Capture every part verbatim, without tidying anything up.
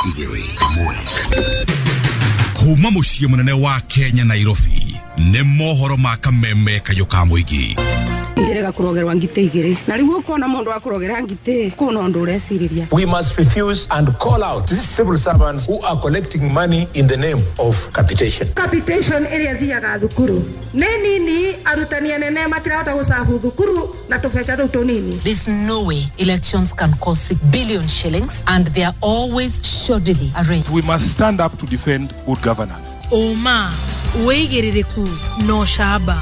Igĩrĩ ĩmwe. Kuma mũciĩ mũnene wa Kenya, Nairobi, nĩ mohoro ma Kameme Kayũ ka Mũingĩ. Njĩrĩga kũrogerwa ngitĩ igĩrĩ na rĩu ũkona mũndũ wa kũrogera ngitĩ kũna ũndũ ũrecirĩria. We must refuse and call out these civil servants who are collecting money in the name of capitation. Capitation ĩrĩa thiaga thukuru nĩ nini, arutani anene matirahota gũcabu thukuru na tũbeca tũu tũnini. There's no way elections can cost six billion shillings and they are always shoddily arranged. We must stand up to defend good governance. Ũma, wĩigĩrĩrĩku na ũcamba.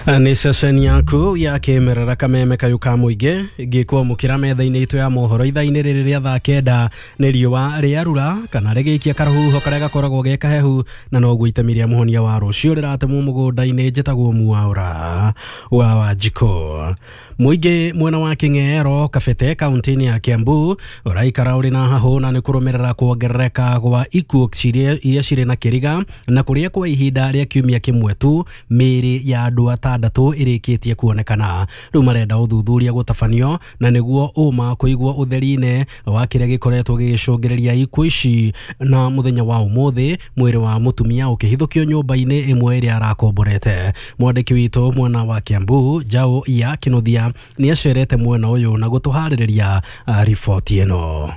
Nĩ ceceni yaku ya kĩmerera Kameme Kayũ ka Mũingĩ ngĩkwamũkĩra metha-inĩ itũ ya mohoro ithaa-inĩ rĩrĩ rĩa thaa kenda. Nĩ riũa rĩarura kana rĩgĩikia karũhuho karĩa gakoragwo ge kahehu, na noguo itemi rĩa mũhonia wa rũciũ rĩratemwo mũgũnda-inĩ. Njĩtagwo Mwaũra wa Wanjikũ. Mũingĩ mwena wa Kĩng'ero, Kabete, kaunti-inĩ ya Kiambu ũraikara ũrĩ na hahũ na nĩ kũrũmĩrĩra kuongerereka gwa ikuũ iria cirĩ na kĩriga, na kũrĩa kwa ihinda rĩa kiumia kĩmwe tu mĩĩrĩ ya andũ atandatũ ĩrĩkĩtie kuonekana. Rĩu marenda ũthuthuria gũtabanio na nĩguo ũma kũigwo ũtheri-inĩ wa kĩrĩa gĩkoretwo gĩgĩcũngĩrĩria ikuũ ici. Na mũthenya wa ũmũthĩ mwĩrĩ wa mũtumia ũkĩhithũkio nyũmba-inĩ ĩmwe ĩrĩa arakomborete. Mwandĩki witũ mwena wa Kiambu, Njaũ ya Kĩnuthia, nĩ acerete mwena ũyũ na gũtũharĩrĩria riboti ĩno.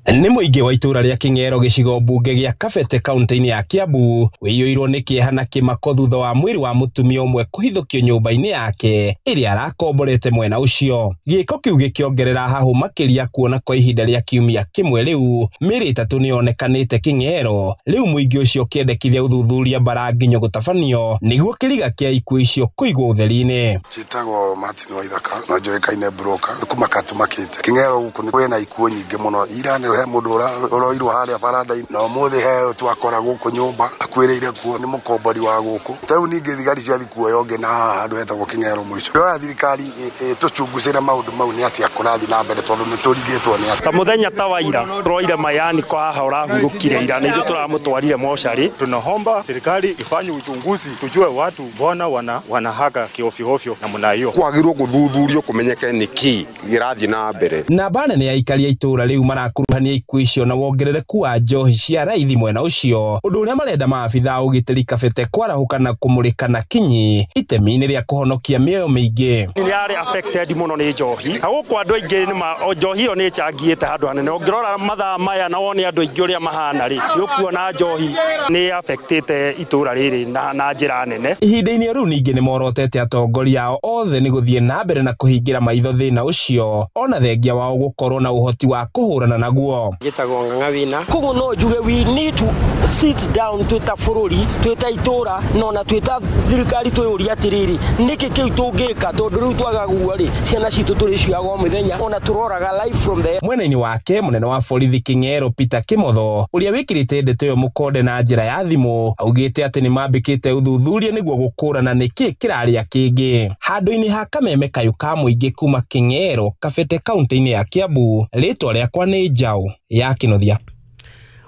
Nĩ mũingĩ wa itũũra rĩa Kĩng'ero gĩcigo mbunge gĩa Kabete kaunti-inĩ ya Kiambu wĩiyũirwo nĩ kĩeha na kĩmako thutha wa mwĩrĩ wa mũtumia ũmwe kũhithũkio nyũmba-inĩ yake ĩrĩa arakomborete mwena ũcio. Gĩko kĩu gĩkĩongerera hahũ makĩria kuona kwa ihinda rĩa kiumia kĩmwe rĩu mĩĩrĩ ĩtatũ nĩyonekanĩte Kĩng'ero. Rĩu mũingĩ ũcio ũkĩendekithia ũthuthuria mbaranginyo gũtabanio nĩguo kĩriga kĩa ikuũ icio kũigwo ũtheri-inĩ. Njĩtagwo Martin Waithaka na njũĩkaine broker. Nĩ kũmaka tũmakĩte Kĩng'ero gũkũ nĩ kwĩna ikuũ nyingĩ mũno. Ira nĩ he mũndũ ũroirwo harĩa baranda-inĩ na ũmũthĩ he twakora gũkũ nyũmba akuĩrĩire kuo nĩ mũkombori wa gũkũ. Ta rĩu ningĩ thigari ciathiĩ kuoya ũngĩ na haha handũ hetagwo Kĩng'ero mũico. Ndĩroya thirikari ĩtũcungucĩre maũndũ mau nĩ atĩa kũrathiĩ na mbere tondũ nĩ tũrigĩtwo nĩ atĩa. Ta mũthenya ta wa ira tũroire mayani kwa haha ũrahurũkire ira na ithuĩ tũramũtwarire mocarĩ. Tunaomba serikali ifanye uchunguzi tujue watu mbona wana wanahaka kiofyoofyo namna hiyo. Kwagĩrĩirwo gũthuthurio kũmenyeke nĩkĩ gĩrathiĩ na mbere. Namba nene ya aikari a itũũra rĩu marakuruhania ikuũ icio na wongerereku wa njohi cia raithi mwena ũcio, ũndũ ũrĩa marenda maabitha a ũgitĩri Kabete kwarahũka na kũmũrĩka na kinyi itemi-inĩ rĩa kũhonokia mĩoyo mĩingĩ. Nĩ arĩ affected mũno nĩ njohi na gũkũ andũ aingĩ nĩ njohi ĩyo nĩ ĩcangĩte handũ hanene. Ũngĩrora mathaa maya na wone andũ aingĩ ũrĩa mahana rĩ, nĩ ũkuona njohi nĩ affectĩte itũũra rĩrĩ na na njĩra nene. Ihinda-inĩ rĩu ningĩ nĩ morotete atongoria ao othe nĩ gũthiĩ na mbere na kũhingĩra maitho thĩna ũcio ona thengia wao gũkorwo na ũhoti wa kũhũrana naguo. Njĩtagwo Ng'ang'a Wina. Koguo no njuge we need to sit down twĩ ta bũrũri, twĩ ta itũũra na ona twĩ ta thirikari twĩyũrie atĩrĩrĩ, nĩkĩ kĩu tũngĩka tondũ rĩu twaga guo rĩ, ciana citũ tũrĩcioyaga o mũthenya ona tũroraga life from there. Mwena-inĩ wake mũnene wa borithi Kĩng'ero Peter Kĩmotho ũrĩa wĩkĩrĩte ndeto ĩyo mũkonde na njĩra ya thimũ augĩte atĩ nĩ mambĩkĩte ũthuthuria nĩguo gũkũrana nĩkĩ kĩrarĩa kĩngĩ. Handũ-inĩ ha Kameme Kayũ ka Mũingĩ kuma Kĩng'ero, Kabete kaunti-inĩ ya Kiambu, rĩtwa rĩakwa nĩ Njaũ ya Kĩnuthia.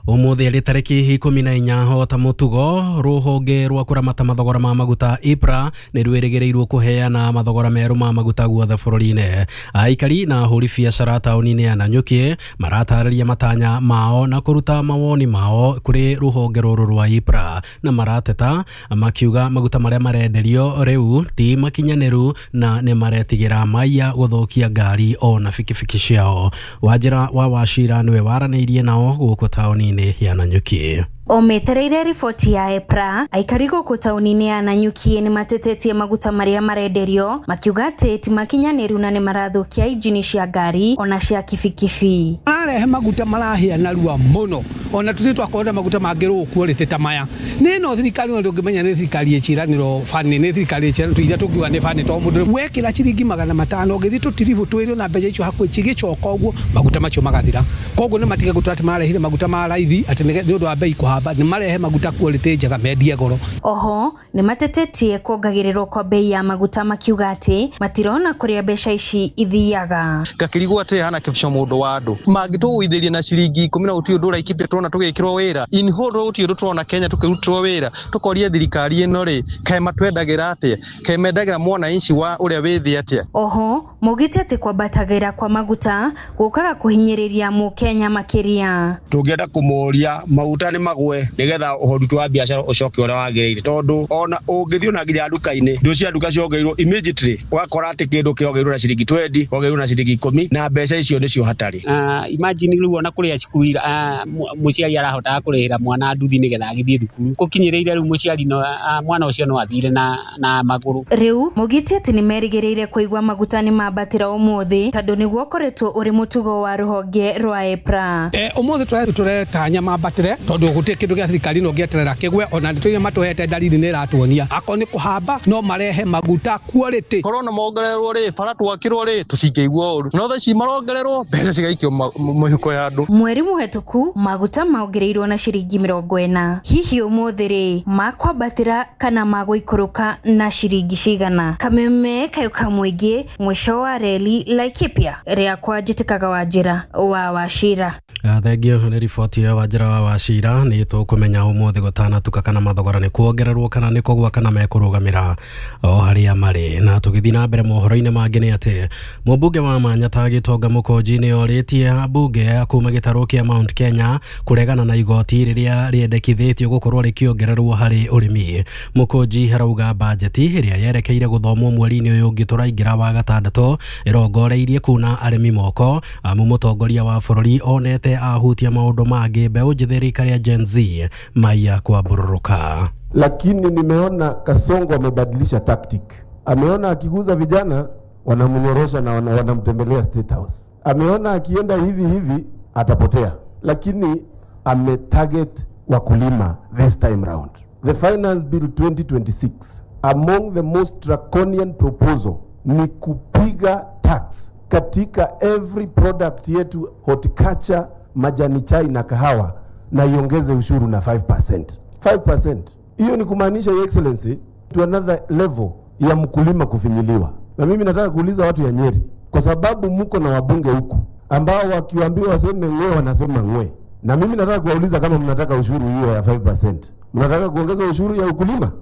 Ũmũthĩ arĩ tarĩki ikũmi na inya o ta mũtugo rũhonge rwa kũramata mathogora ma maguta EPRA nĩ rwĩrĩgĩrĩirwo kũheana mathogora merũ ma maguta guothe bũrũri-inĩ. Aikari na ahũri biacara taũni-inĩ ya Nanyuki maratarĩria matanya mao na kũruta mawoni mao kũrĩ rũhonge rũrũ rwa EPRA, na marateta makiuga maguta marĩa marenderio rĩu ti makinyanĩru na nĩ maretigĩra maiya gũthũkia ngari ona bikibiki ciao. Wanjĩra wa Wachira nĩwe waranĩirie nao gũkũ taũni-inĩ ya Nanyuki. O metereire riboti ya EPRA, aikari gũkũ taũni-inĩ ya Nanyuki nĩ matetetie maguta marĩa marenderio makiuga atĩ ti makinyanĩru na nĩ marathũkia injini cia ngari ona cia kibikibi. Mararehe maguta marahĩa narua mũno ona tũthiĩ twakorwo maguta mangĩ quality ta maya. Nĩ no thirikari no ndũngĩmenya nĩ thirikari ĩciranĩro bani nĩ thirikari ĩciranĩro iria tũngiuga nĩ bani to mũndũ wekĩra ciringi magana matano ũngĩthiĩ tũtiribũ twĩrĩ na mbeca icio hakuhĩ cigĩcoka ũguo maguta macio magathira. Koguo nĩ matige gũtua atĩ mararehire maguta ma raithi atĩ nĩ ũndũ wa bei kũhamba, nĩ marehe maguta quality njega mendie goro. Oho nĩ matetetie kuongagĩrĩrwo kwa bei ya maguta makiuga atĩ matirona kũrĩa mbeca ici ithiaga. Ngakĩrigwo atĩ hana kĩbico mũndũ wa andũ mangĩtũgũithĩria na ciringi ikũmi na gũtirĩ ũndũ ũraikĩpia turona tugikirwo wira in whole gutiri undu turona Kenya tukirutirwo wira tukoria thirikari ino ri kae matwendagira atia kae mendagira mwananchi wa uria wi thi atia. Oho maugite ati kwambatagĩra kwa maguta gũkaga kũhinyĩrĩria mũkenya makĩria. Tũngĩenda kũmoria maguta nĩ magwe nĩgetha ũhoruti wa biacara ũcoke ũrĩa wagĩrĩire, tondũ ona ũngĩthiĩ ona nginya nduka-inĩ indo cia nduka ciongereirwo immediately ũgakora atĩ kĩndũ kĩongereirwo na ciringi twenty kĩongereirwo na ciringi ikũmi na mbeca icio nĩcio hatarĩ. Uh, imagine rĩu ona kũrĩa cukuru uh, mũciari arahotaga kũrĩhĩra mwana nduthi nĩgetha agĩthiĩ thukuru gũkinyĩrĩire rĩu mũciari no uh, mwana ũcio no athire na na magũrũ. Rĩu maugĩte atĩ nĩmerĩgĩrĩire kũigua maguta nĩ mambatĩra ũmũthĩ tondũ nĩguo ũkoretwo ũrĩ mũtugo wa rũhonge rwa EPRA. Eh, ũmũthĩ tũretanya mambatĩre tondũ gũtirĩ kĩndũ gĩa thirikari no gĩeterera kĩgwe ona nĩtũire matũhete dalili nĩ ĩratuonia akorwo nĩ kũhamba no marehe maguta quality. Korwo no mongererwo rĩ bara twakirwo rĩ tũtingĩigua ũru no thaa ici marongererwo mbeca cigaikio mĩhuko ya andũ. Mweri mũhetũku maguta maongereirwo na ciringi mĩrongo ĩna. Hihi ũmũthĩ rĩ makwambatĩra kana magũikũrũka na ciringi cigana? Kameme kayo ka mũingĩ mũico wa reli Laikipia rĩakwa njĩtĩkaga Wanjĩra wa Wachira. Thengio nĩ riboti ya Wanjĩra wa Wachira. Nĩ tũkũmenya ũmũthĩ gũtanatuka kana mathogora nĩ kuongererwo kana nĩ kũgwa kana mekũrũgamĩra o harĩa marĩ. Na tũgĩthiĩ na mbere mohoro-inĩ mangĩ nĩ atĩ mũmbunge wa Manyata Gĩtonga Mũkũnji nĩ orĩtie ambunge kuma gĩtarũ kĩa Mount Kenya kũregana na igoti rĩrĩa rĩendekithĩtio gũkorwo rĩkĩongererwo harĩ ũrĩmi. Mũkũnji arauga bajeti ĩrĩa yerekeire gũthomwo mweri-inĩ ũyũ ũngĩ tũraingĩra wa gatandatũ ĩrongoreirie kuna arĩmi moko amu mũtongoria wa bũrũri onete ahutia maũndũ mangĩ mbeũ njĩthĩ rika rĩa Gen Z maiya kwambũrũrũka. Lakini nimeona Kasongo amebadilisha tactic. Ameona akiguza vijana wanamnyorosha na wanamtembelea State House. Ameona akienda hivi hivi atapotea. Lakini ametarget wakulima this time round. The Finance Bill twenty twenty-six, among the most draconian proposal ni kupiga tax katika every product yetu, horticulture, majani chai na kahawa, na iongeze ushuru na five percent. five percent. Hiyo ni kumaanisha, Your Excellency, to another level ya mkulima kufinyiliwa. Na mimi nataka kuuliza watu ya Nyeri, kwa sababu muko na wabunge huku ambao wakiwaambiwa waseme ngwe wanasema ngwe. Na mimi nataka kuwauliza kama mnataka ushuru hiyo ya five percent. Mnataka kuongeza ushuru ya ukulima?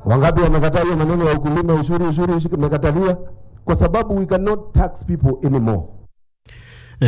Wangapi wamekataa hiyo maneno ya ukulima, ushuru ushuru ushuru umekataliwa? Kwa sababu we cannot tax people anymore.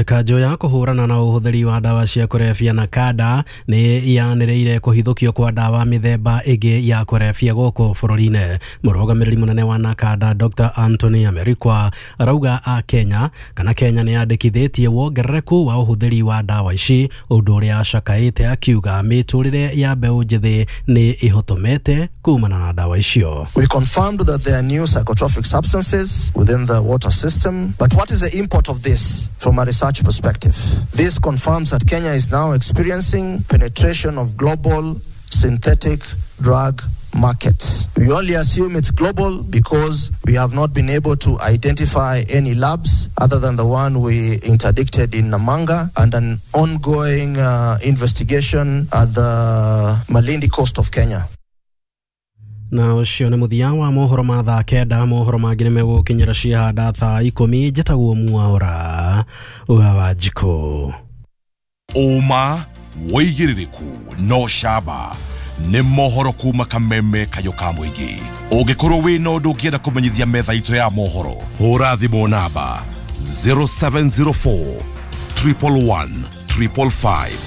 Kanjũ ya kũhũrana na ũhũthĩri wa ndawa cia kũrebia na kanda nĩ yanĩrĩire kũhithũkio kwa ndawa mĩthemba ĩngĩ ya kũrebia gũkũ bũrũri-inĩ. Mũrũgamĩrĩri mũnene wa Nakada Doctor Anthony Amerikwa arauga a Kenya kana Kenya nĩ yandĩkithĩtie wongerereku wa ũhũthĩri wa ndawa ici, ũndũ ũrĩa acakaĩte akiuga mĩtũrĩre ya mbeũ njĩthĩ nĩ ĩhotomete kumana na ndawa icio. We confirmed that there are new psychotropic substances within the water system, but what is the import of this from a research perspective? This confirms that Kenya is now experiencing penetration of global synthetic drug markets. We only assume it's global because we have not been able to identify any labs other than the one we interdicted in Namanga and an ongoing uh, investigation at the Malindi coast of Kenya. Na ũcio nĩ mũthia wa mohoro ma thaa kenda. Mohoro mangĩ nĩ megũkinyĩra ciahanda thaa ikũmi. Njĩtagwo Mwaũra wa Wanjikũ. Ũma wĩigĩrĩrĩku no camba nĩ mohoro kuma kameme kayo ka mũingĩ. Ũngĩkorwo wĩna ũndũ ũngĩenda kũmenyithia metha itũ ya mohoro, hũra thimũ namba zero seven zero four triple one triple five.